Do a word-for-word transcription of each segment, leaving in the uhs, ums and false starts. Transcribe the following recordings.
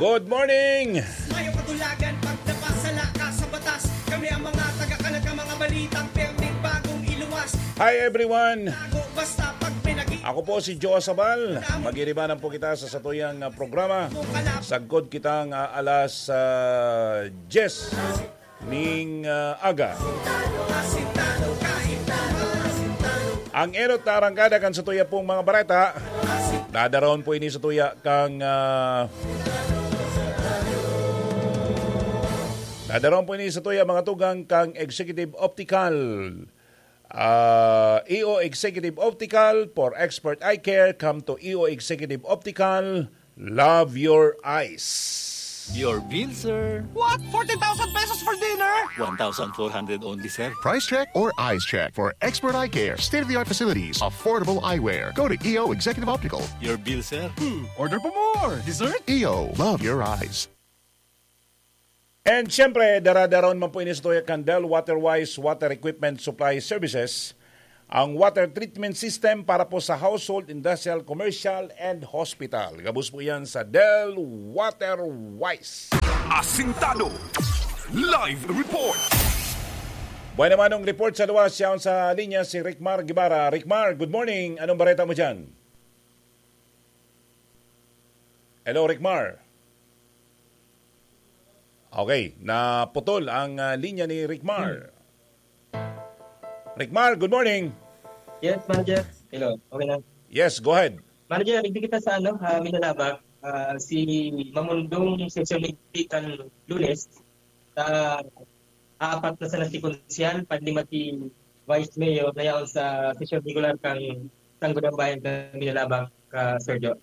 Good morning! Mayo katulagan pag napasala ka sa batas. Kami ang mga taga-kalat ng mga balitang perting bagong iluwas. Hi everyone! Tago basta pag pinag- Ako po si Joe Sabal. Magiribanan po kita sa satuyang ah, programa. Sagkod kitang ah, alas ah, diyes ning ah, aga. Ang enot na arangkada kan satuya pong mga bareta. Dadaron po ini satuya kang ah, Dadaron po ini satuya mga tugang kang Executive Optical. Ah, E O Executive Optical for expert eye care. Come to E O Executive Optical. Love your eyes. Your bill, sir. What? Forty thousand pesos for dinner? One thousand four hundred only, sir. Price check or eyes check for expert eye care, state of the art facilities, affordable eyewear. Go to E O Executive Optical. Your bill, sir. Hmm, order for more. Dessert? E O, love your eyes. And siyempre, daradaron man po ini sa tuya kan Del Waterwise Water Equipment Supply Services, ang water treatment system para po sa household, industrial, commercial, and hospital. Gabos po yan sa Del Waterwise. Asintado. Live report. Buhay naman ang report sa luwas, siya sa linya si Ricmar Guevara. Ricmar, good morning. Anong bareta mo dyan? Hello, Ricmar. Okay, naputol ang ah, linya ni Ricmar. Ricmar, good morning. Yes, manager. Hello, okay na. Yes, go ahead. Manager, hindi kita sa ano, uh, Minalabak, ah, si Mamundong Session Committee kan Lunes, sa apat na sana si Konsyal, panlima si Vice Mayor, na yaon sa session regular kang Sangguniang Bayan kan Minalabak, ah, Sir Joe.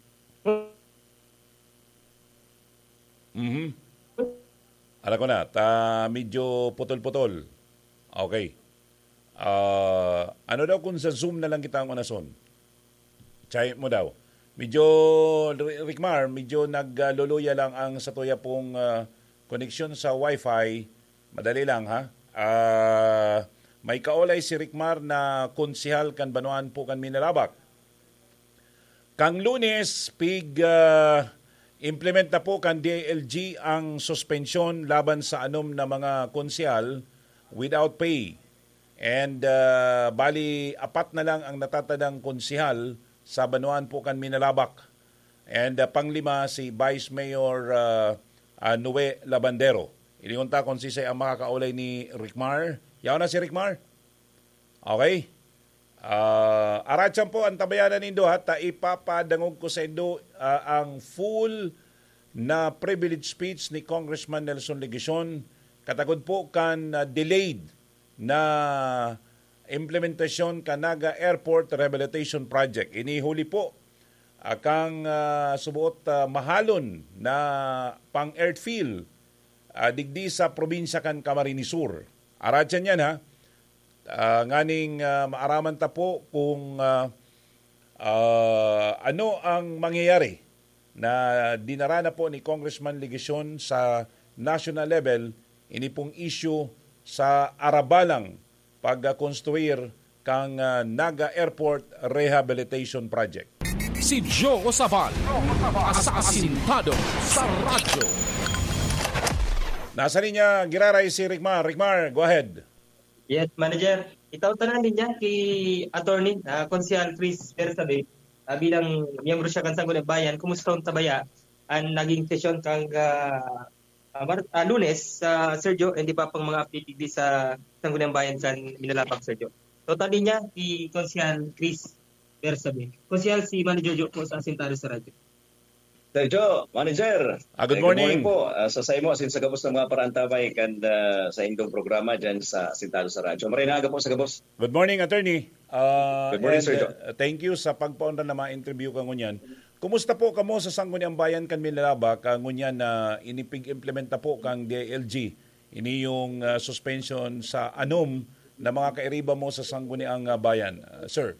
Mhm. Alam ko na, ta medyo putol-putol. Okay. Ah, ano daw kung sa Zoom na lang kita ang unason? Try mo daw. Medyo, Ri- Ricmar, medyo nagluluya lang ang satuya pong ah, koneksyon sa wifi. Madali lang, ha? Ah, may kaolay si Ricmar na konsehal kan Banwaan po kan Minalabak. Kang Lunes, pig ah, implement na po kan D I L G ang suspensyon laban sa anom na mga konsehal without pay. And ah, bali, apat na lang ang natatadang konsehal sa Banwaan po kan Minalabak. And ah, panglima, si Vice Mayor ah, ah, Noe Labandero. Iliyon ta kung sisay ang makakaulay ni Ricmar. Yaon na si Ricmar. Okay. Ah, aratyan po ang tabayanan nindo, ha, ta ipapadangog ko sa indo ah, ang full na privilege speech ni Congressman Nelson Legacion katagod po kan ah, delayed na implementasyon kan Naga Airport Rehabilitation Project. Ini huli po ah, kang ah, subuot ah, mahalon na pang airfield ah, digdi sa probinsya kan Camarines Sur. Aratyan yan, ha. Ah, nganing ah, maaraman ta po kung ah, ah, ano ang mangyayari na dinara na po ni Congressman Legacion sa national level, ini pong issue sa arabalang pagkonstruir kang ah, Naga Airport Rehabilitation Project. Si Joe Sabal, asasintado sa radyo. Nasa linya, giraray si Ricmar. Ricmar, go ahead. Yes, manager. Itaw tanan din niya ki attorney, ah, Konsehal Chris Bersabe, ah, bilang miyembro siya kan Sangguniang Bayan. Kumusta ang tabaya? Ang naging sesyon kang ah, ah, Mar- ah, Lunes, sa Sergio, hindi pa pang mga update digdi sa Sangguniang Bayan kan Minalabak, Sergio. Total din niya, si Konsehal Chris Bersabe. Konsehal si Manager Joe po sa Asintado sa Radyo. Sir Joe, Manager. Ah, good Eh, morning. po. Ah, sa saimo, asin sa gabos ng mga parantabay kan ah, sa indong programa dyan sa Asintado sa Radyo. Maray na aga po sa gabos. Good morning, attorney. Ah, Good morning, and, Sir Joe. uh, thank you sa pagpaundan na mga interview ka ngunyan. Kumusta po kamo sa Sangguniang Bayan kan Minalabak, ah, ngunyan na inipig-implementa po kang D I L G? Ini yung ah, suspension sa anom na mga kairiba mo sa Sangguniang ah, Bayan, ah, sir?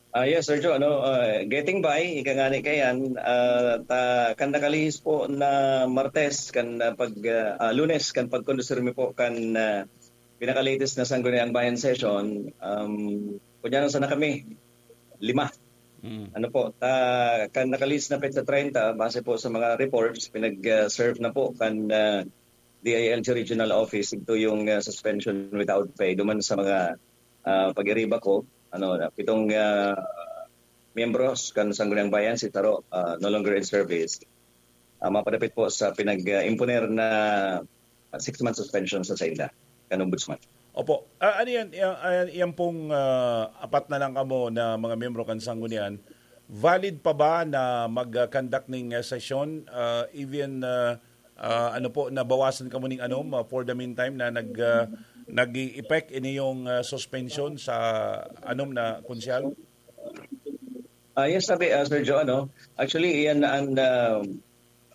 Ah, yes, Sir Joe, ano, ah, getting by, ika nga ni kayan, ah, ta, kan nakalihis po na Martes, kan ah, pag, ah, ah, Lunes, kan pagkondusir mi po kan ah, pinaka-latest na Sangguniang Bayan session, um, kunya na sana kami, lima. Mm. Ano po, ta, kan naka-list na petsa treinta, base po sa mga reports, pinag-serve na po kan, ah, D I L G Regional Office, ito yung, ah, suspension without pay. Duman sa mga, ah, pag-iriba ko, ano, na pitong, ah, miyembros kan Sangguniang Bayan, si Taro, ah, no longer in service. Ah, mapadapit po sa pinag-imponer na six-month suspension sa sainda, kan Ombudsman. Opo. Ah, ano yan? Yan, ah, yan pong, ah, apat na lang kamo na mga miyembro kan Sanggunian. Valid pa ba na mag-conduct ning, ah, sesyon? Ah, even, ah, ah, ano po, nabawasan kamo ning anom, ah, for the meantime na nag, ah, nag-i-effect ini yung, ah, suspension sa anom na konsyal? Ah, yes, sabi, ah, Sir Joe, ano, actually, iyan ang, ah,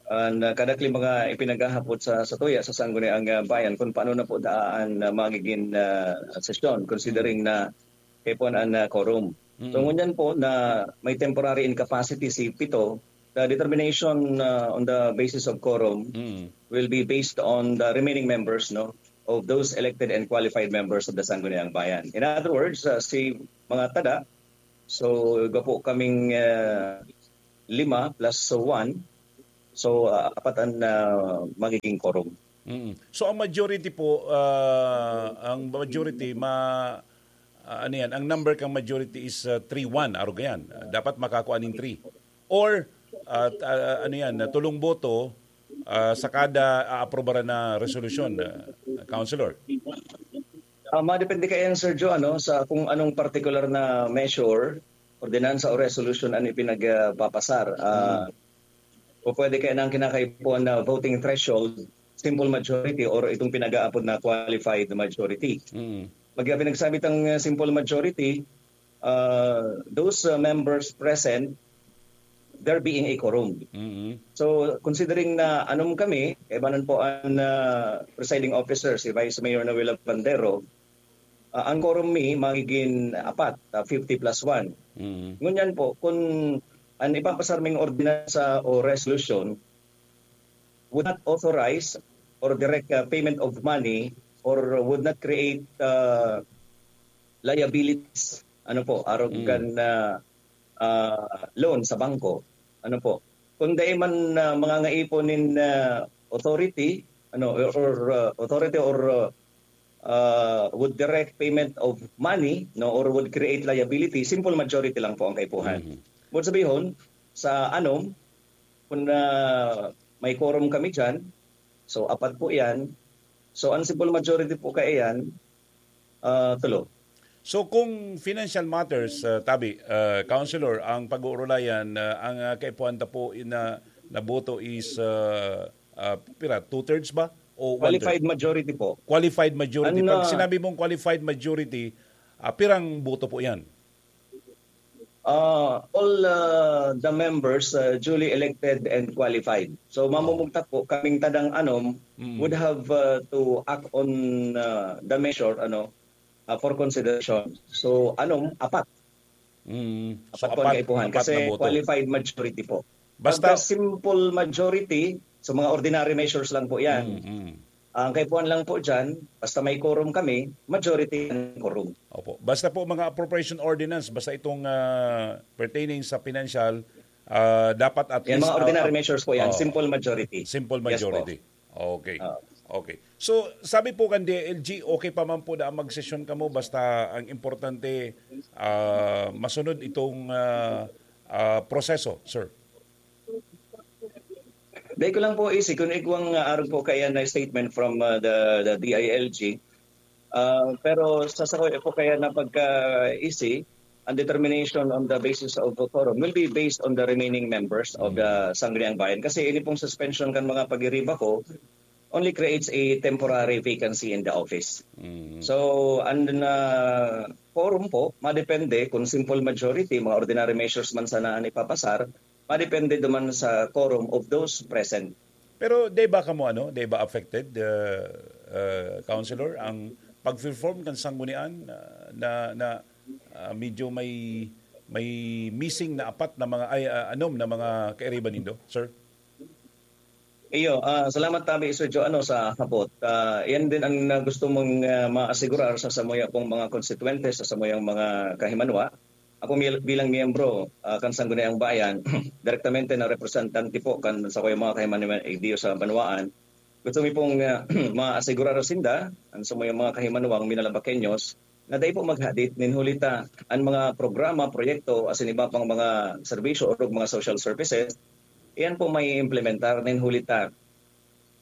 ang, ah, kadakli mga ipinaghahapot sa, sa tuya, sa Sangguniang, ah, Bayan, kung paano na po daan na magiging, ah, sesyon, considering na kaya po ang, ah, quorum. So, Mm. ngunyan po na may temporary incapacity si pito, the determination, ah, on the basis of quorum Mm. will be based on the remaining members, no, of those elected and qualified members of the Sangguniang Bayan. In other words, ah, si mga tada, so, gapo kaming, ah, lima plus one, so, ah, apat ang, ah, magiging quorum. Mm. So, ang majority po, ah, ang majority, ma-, ah, ano yan, ang number kang majority is, ah, three one, arog yan. Ah, dapat makakuha ning three. Or, ah, t-, ah, ano yan, na tulong boto, ah, sa kada aaprobaran na resolusyon, ah, Councilor. Ah, madepende kaya yan, Sir Joe, ano, sa kung anong particular na measure, ordinansa o resolution ang ipinagpapasar. Ah, Mm. o pwede kaya na ang kinakaipuhan na voting threshold, simple majority or itong pinag-aapod na qualified majority. Mm. Pag pinagsabi tang, uh, simple majority, uh, those, uh, members present, there being a quorum. Mm-hmm. So, considering na anom kami, kaibanan po ang, uh, presiding officer, si Vice Mayor Noel Labandero, uh, ang quorum mi magiging apat, uh, fifty plus one. Mm-hmm. Ngunyan po, kung ang ipapasar ming ordinansa o resolution would not authorize or direct, uh, payment of money or would not create, uh, liabilities, ano po, arog Mm. kan, uh, ah, loan sa bangko. Ano po? Kung dai man, ah, mangangaipo nin, ah, authority, ano, or, or, ah, authority or, ah, ah, would direct payment of money, no, or would create liability, simple majority lang po ang kaipuhan. Mhm. Ibig sabihon, sa anom, kung, ah, may quorum kami diyan, so apat po 'yan. So ang simple majority po kaya 'yan, ah, tulo. So kung financial matters, ah, tabi, ah, Councilor, ang pag-uurulayan, ah, ang, ah, kaipuhan ta po na, na boto is, ah, ah, pira, two-thirds ba? O one-third? Qualified majority po. Qualified majority. Ang, Pag ah, sinabi mong qualified majority, ah, pirang boto po 'yan? Ah, all, ah, the members, ah, duly elected and qualified. So, Oo. mamumugtak po, kaming tadang anom Mm. would have, ah, to act on, ah, the measure, ano, ah, for consideration. So, anom, apat. Mm. So, Apat po ang apat, kaipuhan apat na kasi boto. qualified majority po. Basta Pagka simple majority, so mga ordinary measures lang po 'yan. Mm, mm. Ang kaipuhan lang po diyan, basta may quorum kami, majority ang quorum. Opo. Basta po mga appropriation ordinance, basta itong, ah, pertaining sa financial, ah, dapat at Yan, least, mga ordinary ah, measures po 'yan, oo. simple majority. Simple Yes po. majority. Okay. Oo. Okay. So, sabi po kan D I L G, okay pa man po na magsesyon kamo, basta ang importante, ah, masunod itong, ah, ah, proseso, sir. Dai ko lang po isi kun igwang, ah, arog po kaya na statement from, ah, the, the D I L G. Ah, pero sa sakoy po kaya na pagkaisi, ang determination on the basis of quorum will be based on the remaining members of the Mm. Sangguniang Bayan. Kasi ini pong suspension kan mga pag-iriba ko only creates a temporary vacancy in the office. Mm. So, ang, ah, quorum po, madepende kung simple majority, mga ordinary measures man sana ang ipapasar, madepende duman sa quorum of those present. Pero di ba kamo, ano, di ba affected, uh, uh, Councilor, ang pag-perform kan sanggunian, uh, na, na, uh, medyo may, may missing na apat na mga, ay, uh, anom na mga kairiba nindo, sir? Iyo, ah, salamat tabi, Sir Joe, ano, sa hapot. Ah, yan din ang, ah, gusto mong, ah, maasigurar sa samuya pong mga konstituyente, sa samuyang mga kahimanwa. Ako mil-, bilang miyembro, ah, kan Sangguniang Bayan, direktamente na representante po kan sakuyang mga kahimanwan igdiyo sa banwaan. Gusto mi pong, ah, maasigurar sinda, an samuyang mga kahimanwang Minalabaqueños, na dai po maghadit nin huli ta an mga programa, proyekto, asin iba pang mga serbisyo o mga social services, iyan po may implementar nin huli ta.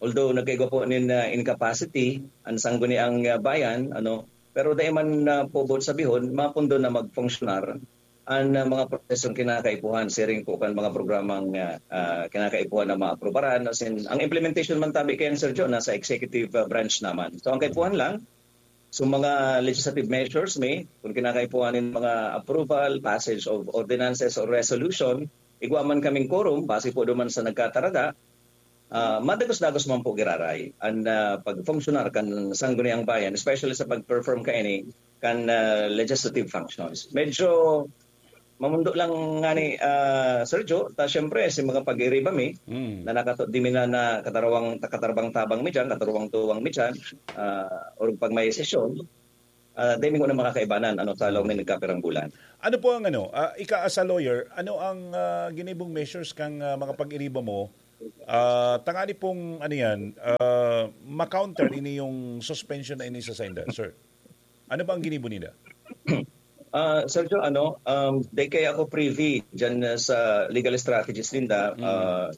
Although nagkaigwa po nin, ah, incapacity an Sangguniang, ah, Bayan, ano, pero dai man, ah, po boot sabihon, mapundo na magfunksyonar an, ah, mga prosesong kinakaipuhan, siring po kan mga programang, ah, ah, kinakaipuhan na maaprubaran. As in, ang implementation man tabi kayan, Sergio, nasa executive, ah, branch naman. So, ang kaipuhan lang, so mga legislative measures may, kung kinakaipuhan nin mga approval, passage of ordinances or resolution, igwa man kaming quorum, base po duman sa nagkatarada, ah, madagos-dagos man po giraray an, ah, pagfunksyonal kan Sangguniang Bayan, especially sa pag-perform kaini kan, ah, legislative functions. Medyo mamundo lang ngani, ah, Sergio, ta siyempre, si mga pag-iriba mi, Mm. na nakato-, di mi na, na katarwang, katarabang-tabang mi dyan, katarwang-tuwang mi dyan, ah, or pag may sesyon, ah, dai mi na makakaibanan, ano, sa lawom na nagkapirang bulan. Ano po ang ano, ah, ika as a lawyer, ano ang, ah, ginibong measures kang, ah, mga pag-iriba mo? Ah, tangani pong, ano yan, ah, ma-counter ini yung suspension na ini sa sainda, sir? Ano ba ang ginibo nila? Ah, Sergio, ano, um, di kaya ako privy dyan, uh, sa legal strategies ninda. Mm. Ah,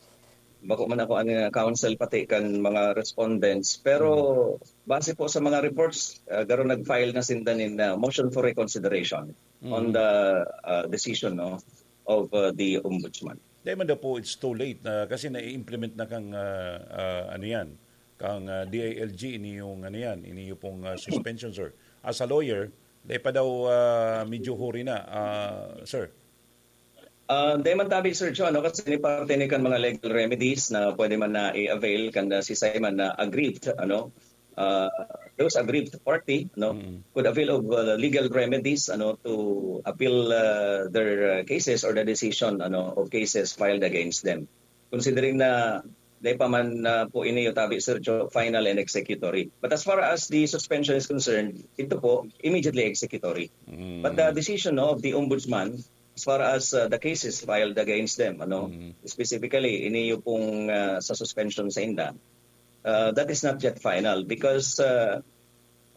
bako man ako ang, uh, counsel pati kan mga respondents. Pero Mm. base po sa mga reports, ah, garo nag-file na sinda nin, ah, motion for reconsideration on Mm. the, ah, decision, no, of, ah, the ombudsman. Dahil man daw po, it's too late na kasi na-implement na kang, ah, ah, ano yan, kang, ah, D I L G, ini yung ano yan, ini yung pong, ah, suspension, sir. As a lawyer, dahil pa daw, ah, medyo huri na, ah, sir. Ah, di man tabi, Sir John, no? Kasi ni parte ni kan mga legal remedies na pwede man na i-avail kan, ah, si Simon na aggrieved, ano? Ah, those aggrieved party, no, Mm. could avail of, uh, legal remedies, ano, to appeal, uh, their, uh, cases or the decision, ano, of cases filed against them. Considering na di pa man, uh, po ini tabi, Sir Joe, final and executory. But as far as the suspension is concerned, ito po, immediately executory. Mm. But the decision, no, of the ombudsman, as far as, uh, the cases filed against them, ano, Mm. specifically, ini yung pong, uh, sa suspension sa inda, uh, that is not yet final because, uh,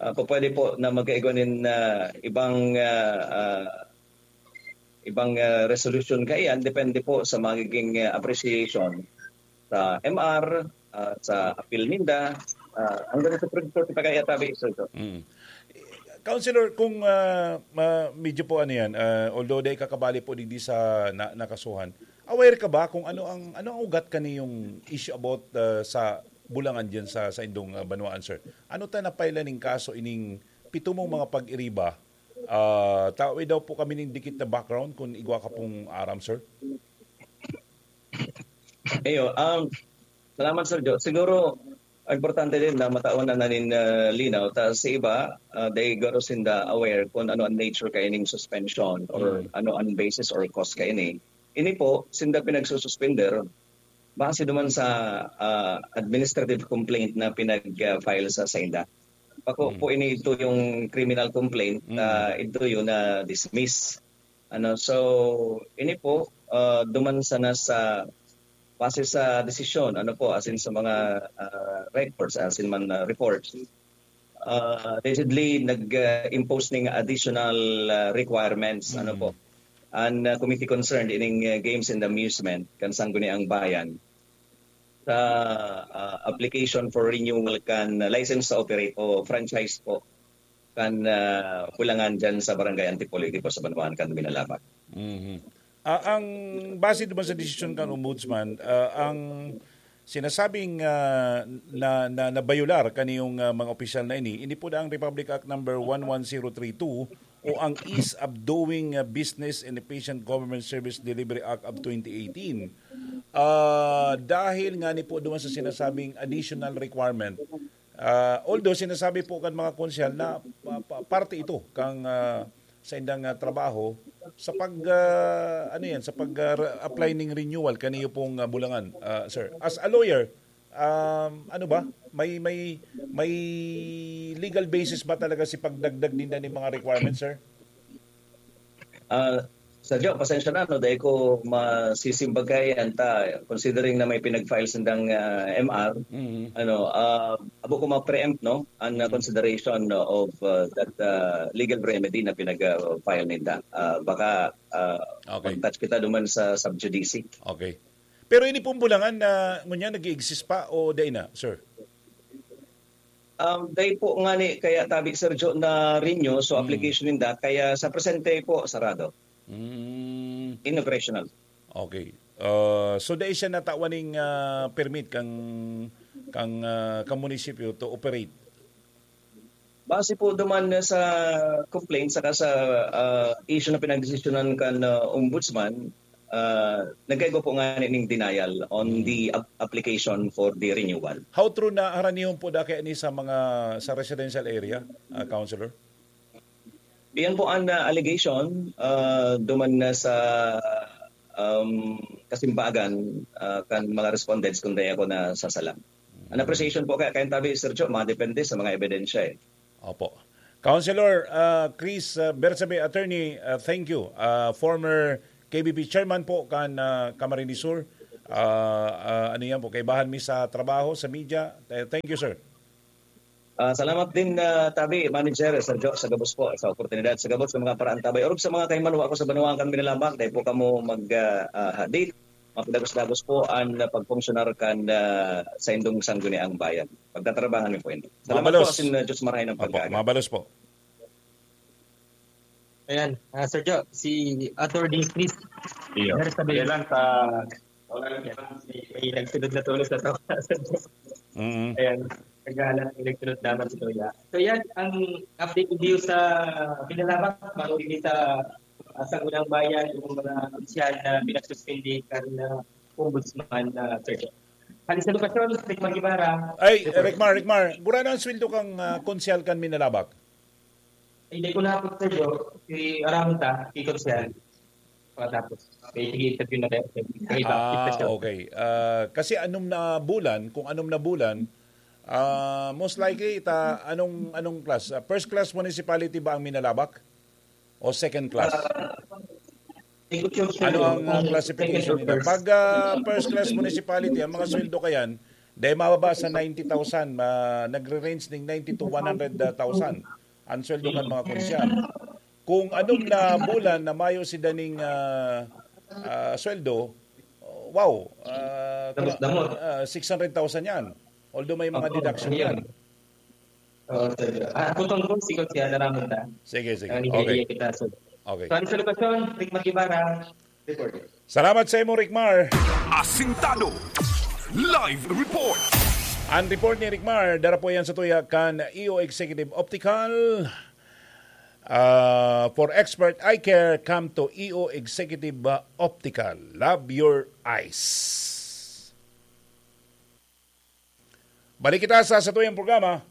uh, po pwede po na magkaigwa nin, uh, ibang, uh, uh, ibang, uh, resolution kaiyan, depende po sa magiging, uh, appreciation sa M R, uh, sa appeal ninda, uh, hanggang sa Supreme Court pa kaya tabi, Sir Joe. Mm. Counselor, kung, ah, ma-, medyo po ano yan, ah, although dai kakabali po digdi sa na-, nakasuhan, aware ka ba kung ano ang, ano ang ugat kani yung issue about, ah, sa Bulangan diyan sa, sa indong, ah, banwaan, sir? Ano ta napailan ning kaso ining pito mong mga pag-iriba? Ah, tawi daw po kami ning dikit na background kung igwa ka pong aram, sir. Ayo, um, salamat, Sir Joe. Siguro, importante din na matawan na nanin, ah, linaw. Ta sa iba, ah, they garo sinda aware kung ano ang nature kaining suspension or Mm. ano ang basis or cause kaini. Ini po, sinda pinagsususpender base duman sa, ah, administrative complaint na pinag-, ah, file sa sainda. Bako Mm. po ini ito yung criminal complaint, Mm. ah, ito yun na dismiss. Ano, so, ini po, ah, duman sana sa, base sa desisyon, ano po, as in sa mga, ah, records, as in man, ah, reports, ah, allegedly nag, ah, impose ning additional, ah, requirements, ano Mm. po, ang, ah, committee concerned ining, ah, Games and Amusement kan Sangguniang Bayan sa, ah, application for renewal kan license to operate o franchise po kan, ah, Bulangan dyan sa Barangay Antipolo, di po sa Banwaan kan Minalabac. Mhm. Ah, ang base naman sa desisyon kan Ombudsman, ah, ang sinasabing, ah, na, na, nabayular kaniyong, ah, mga opisyal na ini, ini po na ang Republic Act number one one zero three two o ang Ease of Doing, ah, Business and Efficient Government Service Delivery Act of twenty eighteen. Ah, dahil nga ni po doon sa sinasabing additional requirement, ah, although sinasabi po kan mga konsehal na pa-, pa-, parte ito kang, ah, sa indang, ah, trabaho sa pag, ah, ano yan, sa pag, ah, re-, apply ning renewal kaniyo pong, ah, Bulangan, ah, sir. As a lawyer, um, ano ba? May, may, may legal basis ba talaga si pagdagdag ninda ning mga requirements, sir? Ah, Sa Joe, pasensya na, no, dahil ko masisimbag kay anta, considering na may pinag-file sindang ah, M R, Mhm. ano, ah, abo ko ma-preempt, no, an uh, consideration no, of uh, that uh, legal remedy na pinag-file ninda. Ah, baka uh, Okay. mag-touch kita duman sa sub judice. Okay. Pero ini pong bulangan na ngunyan nag-exist pa o dai na, sir? Um, dahil po nga ni kaya tabi Sergio na renew, so Mm. application ninda, kaya sa presente po sarado. Mm, Inoperational. okay. Uh, so dai siya natawan ning ah, permit kang kang ah, kang munisipyo to operate. Base po duman sa complaint saka sa ah, issue na pinagdesisyonan kan ah, ombudsman, ah, nagkaigwa po nga ning denial on Mm. the ap- application for the renewal. How true na haranihon po da kaya ni sa mga sa residential area, ah, councilor? Iyan po ang ah, allegation ah, duman na sa um, kasimbagan ah, kan mga respondents kung dai ako nasasala. An appreciation po kaya kayong tabi, Sir Joe, mga depende sa mga ebidensya eh. Opo. Councilor ah, Chris ah, Bersabe, attorney, ah, thank you. Ah, former K B P chairman po kan ah, Camarines Sur. Ah, ah, ano yan po, kaibahan mi sa trabaho, sa media. Eh, thank you, sir. Ah, salamat din, ah, tabi, manager, Sir Joe, sa gabos po, sa oportunidad, sa gabos sa mga paraantabay. Orog sa mga kaimanwa ko sa banwaan kan Minalabak, dahil po kamo mag ah, ah, hadit, mapidagos-dagos po ang ah, pagfunksyonar kan ah, sa indong sangguniang bayan. Pagtatrabahan niyo po ini. Salamat Mabalos. Po, sin uh, Diyos marahay ng Opo, pag-aaga. mabalos po. Ayan, ah, Sir Joe, si Attorney Chris. Iyo. Meron sabihin. Kaya lang sa... May nagsunod na tulos na to. Mm. Ayan, naghahanap, may nagsunod naman si Kuya. So yan, ang update video sa Pinalabak, marunong sa uh, Sangguniang Bayan, yung mga opisyal na pinagsuspindi kan uh, ombudsman na uh, Sir Joe. Halis sa lokasyon, Rick Magibara. Ay, Ricmar, Ricmar, gurano ang sweldo kang ah, konsyal kan Minalabak? Hindi ko na po, Sir Joe, si Aramita, si Konsehal. Pagkatapos, may sige interview na kayo. May iba, Ah, sitwasyon. Okay. Ah, kasi anom na bulan, kung anom na bulan, ah, most likely, ita, anong, anong class? Ah, first class municipality ba ang Minalabak? O second class? Hindi ko sure, Sir Ano Joe, ang ah, kung classification second or nila? first. Pag ah, first class municipality, ang mga sweldo kayan, dahil mababa sa ninety thousand, ma- nagre-range ng ninety to one hundred thousand ang sweldo kan mga konsyal. Kung anom na bulan na mayo si daning ah, ah, sweldo, wow, ah, Damo-damo. ah, six hundred thousand yan. Although may mga Opo, deduction yun. yan. Oo, Sir Joe. Ah, tutong po, si Konsehal Aramita. Sige, sige. Ang Okay. kita, Sir. Okay. So, ano sa lokasyon? Rick Magibara, reporter. Salamat sa imo, Ricmar. Asintado. Live report. Ang report ni Ricmar, dara po yan sa tuya kan E O Executive Optical. Ah, for expert eye care, come to E O Executive ah, Optical. Love your eyes. Balik kita sa satuyang programa.